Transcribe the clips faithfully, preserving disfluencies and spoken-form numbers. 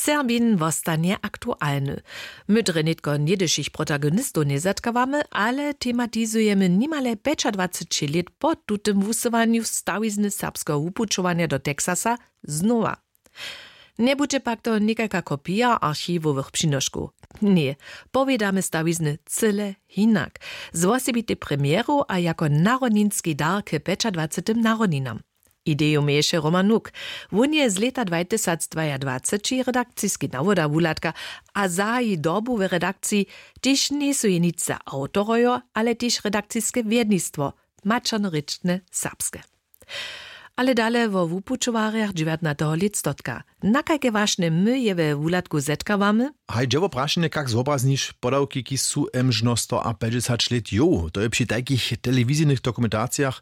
Termin wostanje aktualny. My drje nětko něhdyšich protagonistow njezetkawamy, ale tematizujemy nimale pjećadwaceći lět po tutym wusyłanju stawizny serbskeho wupućowanja do Texasa znowa. Njebudźe pak to někajka kopija archiwowych přinoškow. Ně, powědamy stawizny cyle hinak, z wosebitej premjeru a jako narodninski dar k pjećadwacetym narodninam. Ideju měješe Roman Nuk. Wón je z lěta dwajtysacdwajadwaceći redakciski nawoda wuhladka a zahaji dobu w redakciji, kiž njejsu jeničce awtorojo, ale tež redakciske wjednistwo, maćernorěčne serbske. Ale dale wo wupućowarjach dźewjatnateho lětstotka. Na kajke wašnje my je we wuhladku zetkawamy? Haj, dźe wo prašenje, kak zwobrazniš podawki, kiž su mžno stoapjećdźesać lět jow. To je při tajkich telewizijnych dokumentacijach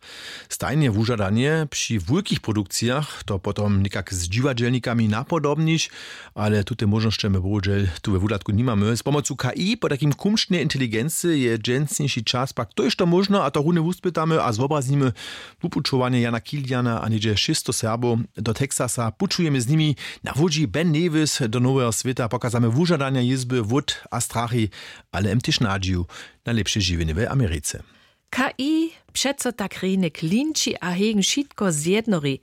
stajnje wužadanje. Při wulkich produkcijach to potom někak z dźiwadźelnikami napodobniš, ale tute móžnosće my bohudźel tu we wuhladku nimamy. Z pomocu K I, po takim kumšnej inteligency, je dźensniši čas pak tójšto móžno, a to runje wuspytamy a zwobraznimy wupućowanje Jana Kiliana a něhdźe šěsćsto Serbow do Texasa. Pućujemy z nimi na łódźi Ben Nevis do noweho swěta, pokazamy wužadanja jězby, wót a strachi, ale jem tež nadźiju na lěpše žiwjenje w Americe. K I přeco tak rjenje klinči a hegen wšitko zjednori.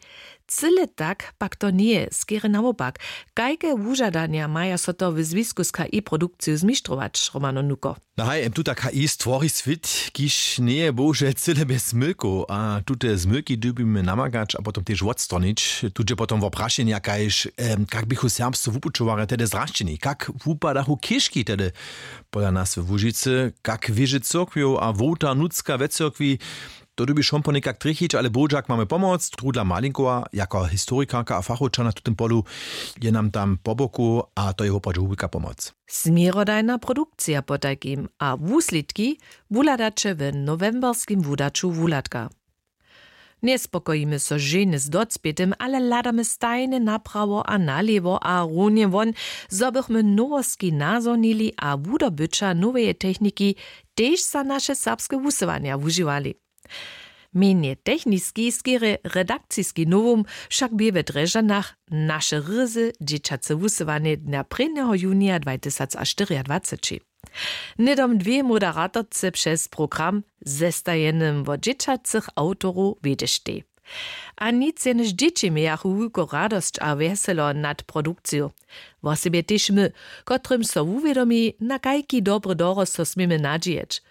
Cyle tak pak to njeje, skerje nawopak. Kajke wužadanja maja so to w zwisku z K I produkciju zmištrować, Romano Nuko? No haj, jem tuta K I stwori swět, kiž njeje bohužel cyle bjez zmylkow, a tute zmylki dyrbimy namakać a potom tež wotstronić. Tu dźe potom wo prašenja, kaž, em, kak běchu serbscy wupućowarje tehdy zrašćeni, kak wupadachu chěžki tehdy pola nas we Łužicy, kak wěže cyrkwjow a wołta nutřka we cyrkwi. To dyrbiš wón ponekak trjechić, ale Božak mamy pomoc. Trudla Malinkowa jako historikarka a fachowča na tutym polu je nam tam po boku a to je woprawdźe wulka pomoc. Směrodajna produkcija potajkim a wuslědki wuhladaće w nowemberskim wudaću wuhladka. Njespokojimy so ženje z docpětym, ale hladamy stajnje naprawo a nalěwo a runje won, zo bychmy nowostki nazhonili a wudobyća noweje techniki tež za naše serbske wusyłanja wužiwali. Mjenje techniski skerje redakciski nowum wšak bě we Drježdźanach naše ryzy dźěćace wusyłanje dnja prěnjeho junija dwajtysacštyriadwaceći. Hnydom dwě moderatorce přez program zestajenym wot dźěćacych awtorow wjedźeštej. A nic jenož dźěći mějachu wulku radosć a wjeselo nad produkciju. Wosebje tež my, kotrymž so wuwědomi, na kajki dobry dorost so směmy nadźijeć.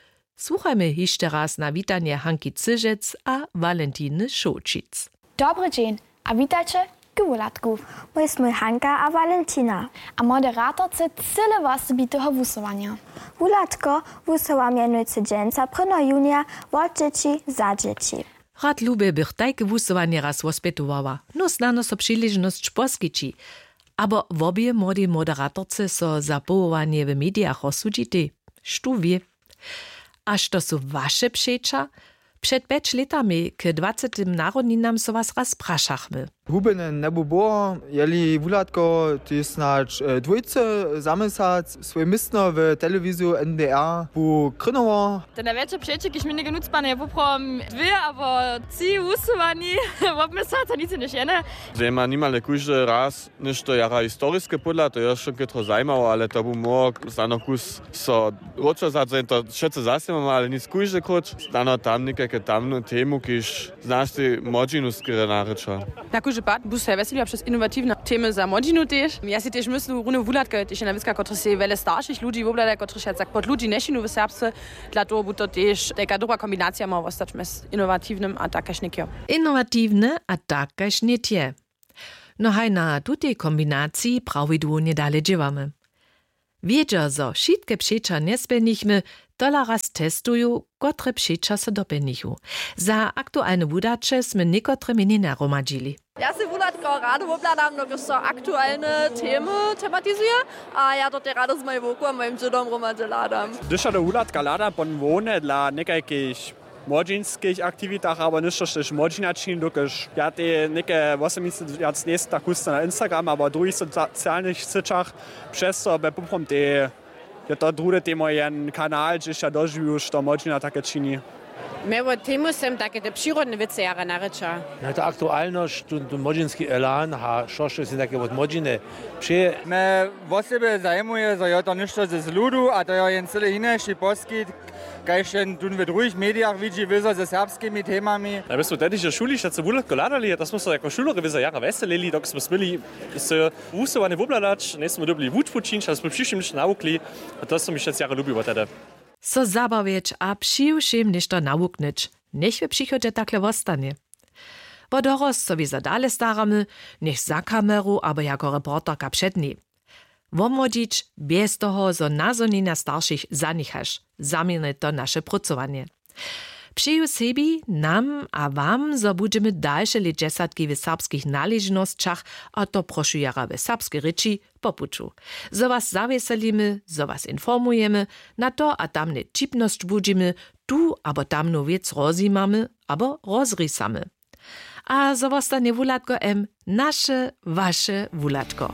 Słuchajmy hišće raz na witanje Hanki Cyžec a Walentiny Šołćic. Dobry dźeń a witajće k wuhladku. My smój Hanka a Walentina a moderatorce cyle wosebiteho wusyłanja. Wuhladko wusyła mjenujcy dźensa prěnjeho junija wot dźěći za dźěći. Rad lubje bych tajke wusyłanje raz wospytowała. No snano so přiležnosć poskići. Abo wobě młodej moderatorce so za powołanje w medijach rozsudźitej? Štó wě. A što su waše přeća? Před pjeć lětami k dwacetym narodninam so was raz prašachmy. Hubjene njebu było, jeli wuhladko, tež snadź, e, dwójce za měsac swój městno w telewiziju N D R bu krynował. Te najwjetše přeće, kiž mi něke nutřpane, je woprawom dwě abo tři wusyłani wobmysłac a nic jenož jene. Dźe ma nimale kóždy raz něšto jara historiske pódla, to je wšo chětro zajimało, ale to bu móhło snano kus so wróćo zadźe, to wšetcy zasnimamy, ale nic kóždy króć. Snano tam někajke tamnu temu, kiž znaš tej młodźinu skerje narěča. Na kóždy pad bu so ja wjeseliła přez inowatiwne temy za młodźinu tež. Ja sej tež myslu, runje wuhladka je tež jedna wěcka, kotryž sej wjele staršich ludźi wobhlada, kotryž ja tak pod ludźi nješinu w Serbsce. Dla toho bu to tež tajka dobra kombinacija móhła wostać mjez inowatiwnym a tak kaž někjo. Inowatiwne a tak kaž nětje. No haj, na tutej kombinaciji prawidłownje dale dźěłamy. Wědźa, zo wšitke přeća njespjelnichmy, tola raz testuju, kotre přeća so dopjelnichu. Za aktualne wudaće smy někotre měnjenja hromadźili. Ja sej wuhladko rady wobhladam, dokelž so aktualne temy tematizuje, a ja to tej rady z mojej wowku a mojim dźědom hromadźe hladam. Hdyž ja do wuhladka hladam, potom hłowne dla někajkich młodźinskich aktiwitach abo něšto, štož młodźina čini, dokelž ja tej něke wosebnicy wjac njejsym tak husto na Instagram abo druhich socialnych syćach. Přez to bě poprawom tej je to druhe temo jen kanal, hdźež ja dožiwju, što młodźina take čini. Mje wot temu sem take te přirodne wěcy jara narěča. Na ta aktualnosć, tu, tu młodźinski elan ha šošće sej take wot młodźiny přeje. Mje wosebje zajimuje zo jo to něšto ze zludu a to jo jen cyle hinaši poskitk, kaž jen tón w druhich medijach widźi wězo ze serbskimi temami. A my smy tehdy w šuli wšetcy wuhladko hladali a to smy so jako šulerjo wězo jara wjeselili dok smy směli se wusyłanje wobhladać, njejsmy dyrbili wučbu čińć a smy přiwšěm něšto nawukli. A to smy wšetcy jara lubiło tehdy. So zabawjeć a přiwšěm něšto nawuknyć, njech w přichodźe takle wostanje. Wo dorosć so wězo dale staramy, njech za kameru abo jako reporterka před njej. Womłodźić bjez toho zo nazhonjenja staršich zaněchaš, zaměrnje to naše prócowanje. Přeju sebi, nam a wam zo budźemy dalše lětdźesatki w serbskich naležnosćach, a to prošu jara w serbskej rěči, po puću, zo was zawjeselimy, zo was informujemy, na to a tamnje ćipnosć budźimy, tu abo tamnu wěc rozjimamy abo rozrisamy. A zo wostanje wuhladko m naše waše wuhladko.